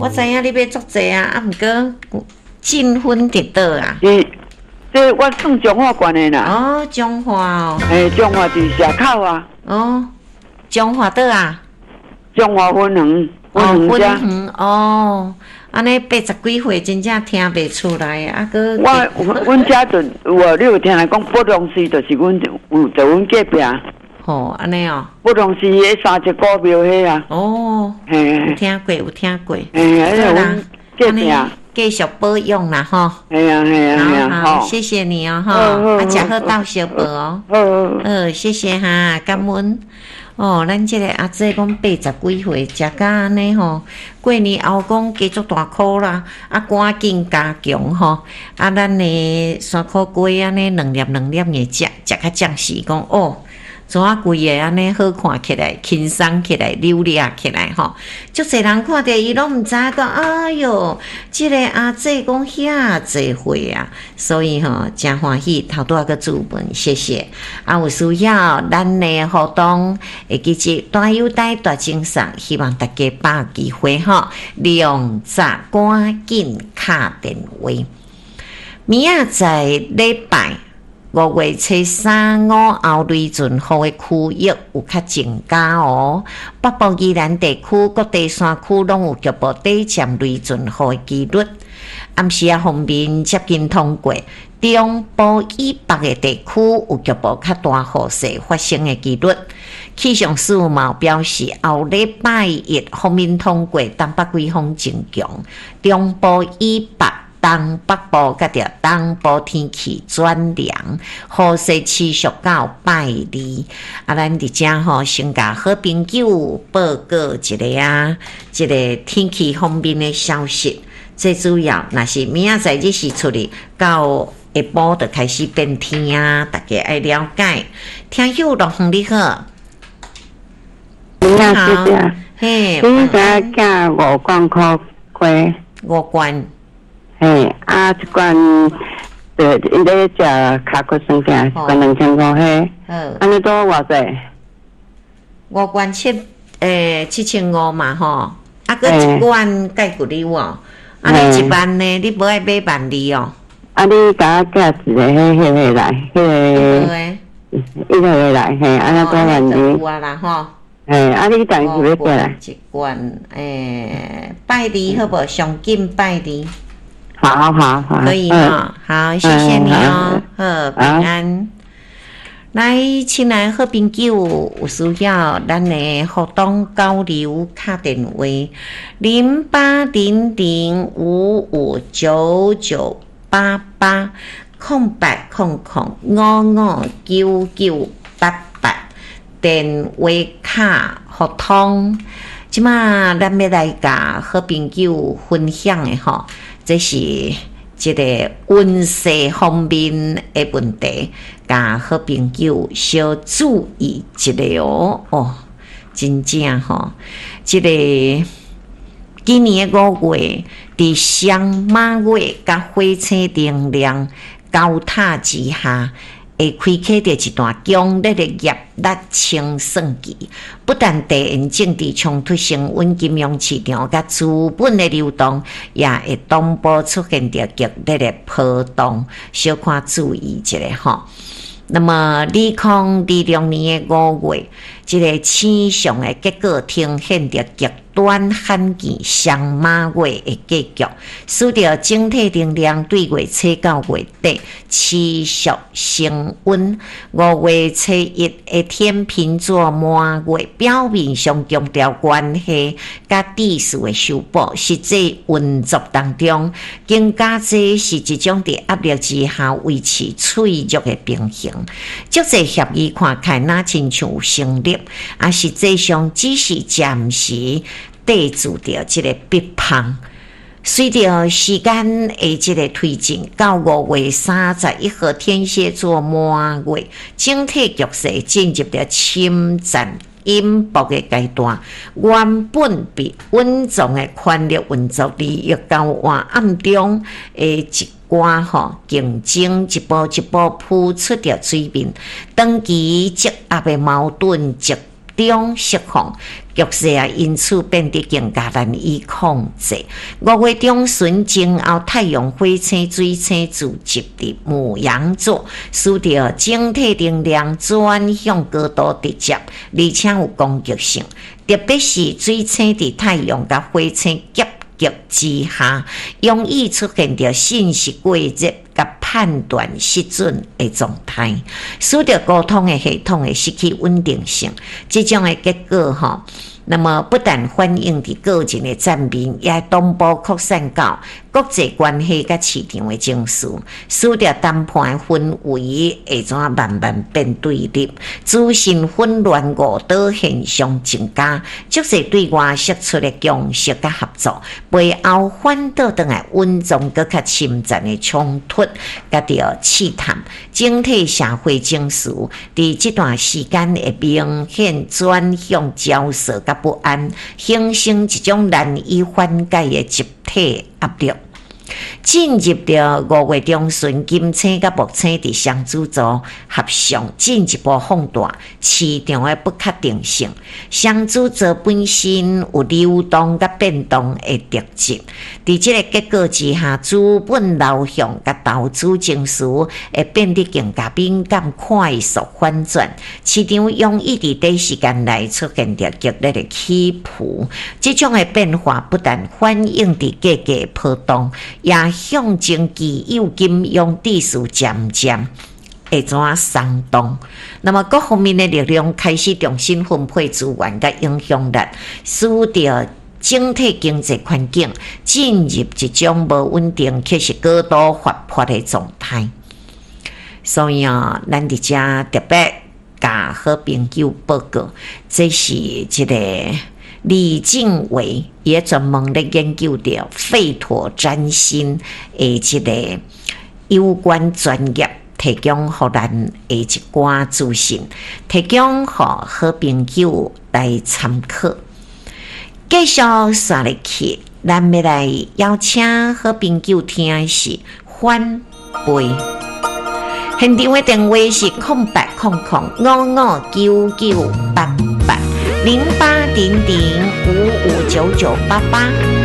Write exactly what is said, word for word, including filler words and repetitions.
我知影你買足濟啊，啊，毋過進分佇佗啊？是，這我算彰化縣的啦。哦，彰化哦。嘿，彰化佇社口啊。哦，彰化佗啊？彰化分園，分園遮。哦，按呢八十幾歲，真正聽袂出來啊！閣我阮遮就有啊，你有聽人講北龍寺，就是阮有，就阮隔壁。吼，按呢哦。北龍寺彼三隻古廟彼啊。哦。嘿。有聽過，有聽過。嘿，彼個阮隔壁。繼續保養啦，吼。係啊，係啊，係啊，好，謝謝你哦，吼，啊，食好鬥相報哦。好。好，謝謝哈，感恩。哦，咱這個阿姐講八十幾歲，食甲按呢吼，過年後講加足大苦啦，啊，趕緊加強吼，啊，咱的山苦瓜按呢兩粒兩粒的食，食較暫時講哦。怎啊規个按呢好看起來，輕鬆起來，溜掠起來吼。足濟人看著伊攏毋知影講，哎喲，這个阿姐講遐濟歲啊，所以吼誠歡喜，頭拄仔閣注文，謝謝。啊，有需要咱的活動會記得大優待大贈送，希望大家把握機會吼，量早趕緊敲電話。明仔載禮拜五月初三午後雷陣雨的區域有較增加哦。北部宜蘭地區各地山區攏有局部短暫雷陣雨的幾率。暗時仔鋒面接近通過，中部以北的地區有局部較大雨勢發生的幾率。氣象署嘛表示，後禮拜一鋒面通過，東北季風增強，中部以北、東北部佮著東部天氣轉涼，雨勢持續到拜二。啊，咱佇遮吼，先共好朋友報告一下啊，這个天氣方面的消息。最主要，若是明仔載日時出去，到下晡就開始變天啊，大家愛了解。聽友樂園你好，你好，嘿，你知寄五罐苦瓜？五罐。嘿，啊，一罐就𪜶咧食尻骨酸疼，一罐兩千五彼。按呢多偌濟？五罐七，欸，七千五嘛吼，啊，閣一罐蓋骨溜哦，啊，你一萬呢？你無愛買萬二哦？啊，你共我寄一个彼彼个來，彼个，一個來，嘿，按呢多萬二。有啊啦吼。嘿，啊，你當時欲寄來？一罐，欸，拜二好無？上緊拜二。好好好，可以哈，好，謝謝你哦，好，平安。來，親愛好朋友，有需要咱的活動交流敲電話零八零零五五九九八八空八空空五五九九八八電話卡互通。這馬咱欲來共好朋友分享的吼，這是這个運勢方面的問題，共好朋友小注意一下哦。哦，真正吼，這个今年的五月，佇雙馬月佮火星能量交塔之下，會開啟著一段強烈的業力清算期，不但地緣政治衝突升溫、金融市場佮資本的流動，也會同步出現著劇烈的波動，小可注意一下吼。那麼，二零二六年的五月，這个星象的結果呈現著極端罕見雙馬月的格局，使得整體能量對月初到月底持續升溫。五月初一的天秤座滿月，表面上強調關係佮秩序的修補，實際運作當中，更加濟是一種佇壓力之下維持脆弱的平衡。足濟協議看起來若親像有成立，啊，實際上只是暫時綴住著這个逼縫。隨著時間的這个推進，到五月三十一號天蠍座滿月，整體局勢進入著深層隱伏的階段。原本被隱藏的權力運作、利益交換暗中的一寡吼競爭，一步一步浮出著水面，長期積壓的矛盾集中釋放，局勢啊，因此變得更加難以控制。五月中旬前後，太陽、火星、水星聚集佇牡羊座，使得整體能量轉向高度直接，而且有攻擊性。特別是水星佇太陽佮火星夾擊之下，容易出現著信息過熱佮判斷失準的狀態，使得溝通的系統會失去穩定性。這種的結果吼，那麼不但反映佇個人的層面，也同步擴散到國際關係佮市場的情緒，使得談判的氛圍會怎慢慢變對立，資訊混亂誤導現象增加，足濟對外釋出的共識佮合作，背後反倒轉來隱藏閣較深層的衝突佮著試探，整體社會情緒佇這段時間會明顯轉向焦躁佮不安，形成一種難以緩解的集體壓力。進入著五月中旬，金星佮木星佇雙子座合相，進一步放大市場的不確定性。雙子座本身有流動佮變動的特質，佇這个結果之下，資本流向佮投資情緒會變得更加敏感、快速反轉，市場容易佇短時間內出現著激烈的起伏。這種的變化不但反映佇價格波動，也象徵既有金融秩序漸漸會怎鬆動。那麼各方面的力量開始重新分配資源佮影響力，使得整體經濟環境進入一種無穩定，卻是高度活潑的狀態。所以啊，咱佇遮特別共好朋友報告，這是這个李靜偉也專門咧研究著吠陀占星的這个有關專業，提供予咱的一寡資訊，提供予好朋友來參考。繼續紲入去，咱欲來邀請好朋友聽的是反背。現場的電話是空八空空五五九九八八零八零零五五九九八八。